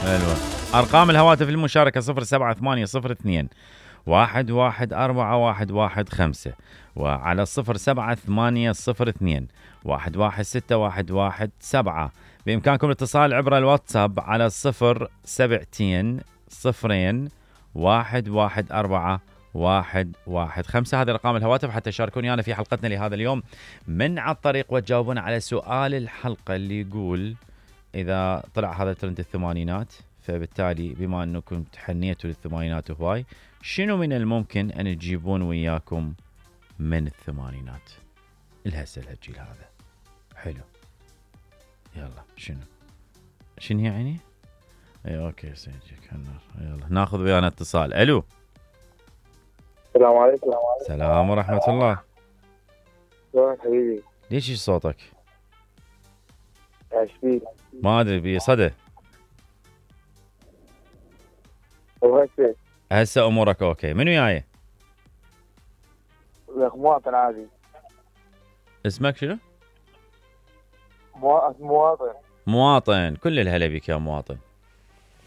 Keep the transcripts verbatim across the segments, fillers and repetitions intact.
حلوة. أرقام الهواتف المشاركة صفر سبعة ثمانية صفر اثنين واحد واحد أربعة واحد واحد خمسة، وعلى صفر سبعة ثمانية صفر اثنين واحد واحد ستة واحد واحد سبعة. بإمكانكم الاتصال عبر الواتساب على صفر سبعتين صفرين واحد واحد أربعة واحد واحد خمسة. هذه رقم الهواتف حتى تشاركوني أنا في حلقتنا لهذا اليوم من على الطريق وتجاوبون على سؤال الحلقة اللي يقول إذا طلع هذا ترند الثمانينات، فبالتالي بما أنكم تحنيتوا للثمانينات هواي، شنو من الممكن أن تجيبون وياكم من الثمانينات الهسه الهالجيل هذا؟ حلو، يلا شنو شنو يعني؟ اي اوكي سيجيك يلا ناخذ ويانا اتصال. الو السلام عليكم. السلام ورحمة الله. شلونك حبيبي؟ ليش صوتك؟ ايش فيك؟ ما ادري بصدى. وهسه هسه امورك اوكي. من وياي؟ لك مواطن عادي. اسمك شنو؟ موا... مواطن. مواطن، كل الهلا بك يا مواطن.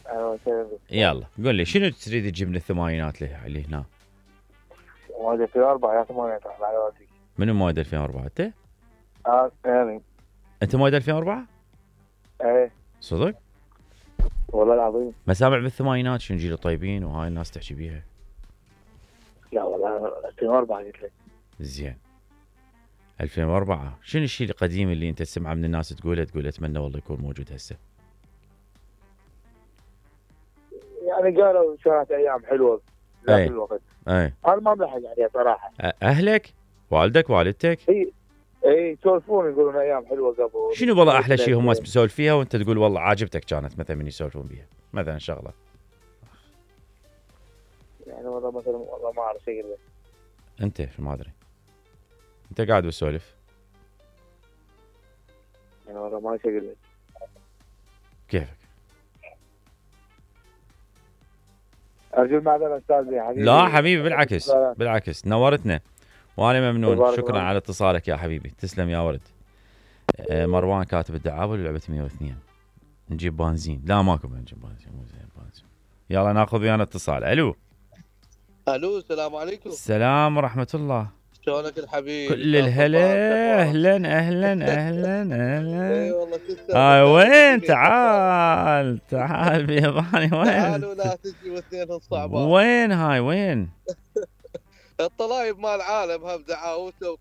اهلا وسهلا بك. يلا قول لي شنو تريد تجيب من الثمانينات اللي هنا؟ مواد ألفين وأربعة يا ثمانينات على والديك. منو مواد ألفين وأربعة انت؟ اه يعني انت مواد ألفين وأربعة؟ ايه صدق؟ والله العظيم. مسامع بالثمانينات شنو جيل طيبين وهاي الناس تحكي بيها. لا والله ألفين وأربعة قلت لك. زين. ألفين وأربعة شنو الشيء القديم اللي انت تسمعه من الناس تقوله تقول اتمنى والله يكون موجود هسه؟ يعني قالوا كانت ايام حلوه ذاك أي. الوقت. اي انا ما بلحق عليها صراحه. اهلك؟ والدك والدتك؟ اي اي يسولفون يقولون ايام حلوه قبل. شنو والله احلى شيء هم يسولف فيها وانت تقول والله عاجبتك كانت مثلا من يسولفون بيها مثلا شغله؟ يعني والله مثلا والله ما اعرف شيء. انت ما ادري انت قاعد بتسولف يعني والله ما شيء لك. كيفك؟ ارجو المعذره استاذ يا حبيبي. لا حبيبي بالعكس بالعكس نورتنا وانا ممنون. شكرا الله. على اتصالك يا حبيبي، تسلم يا ولد. آه مروان كاتب الدعابه لعبه مية واثنين نجيب بنزين. لا ماكو نجيب بنزين مو زين بنزين. يلا ناخذ ويانا اتصال. الو الو السلام عليكم. السلام ورحمه الله. شلونك الحبيب؟ كل الهلا. اهلا اهلا اهلا اهلا. اي والله تسلم. هاي وين؟ تعال تعال بيضاني وين؟ تعالوا لا تجي واثنين الصعبان. وين هاي وين؟ الطلايب مال العالم هم دعاوته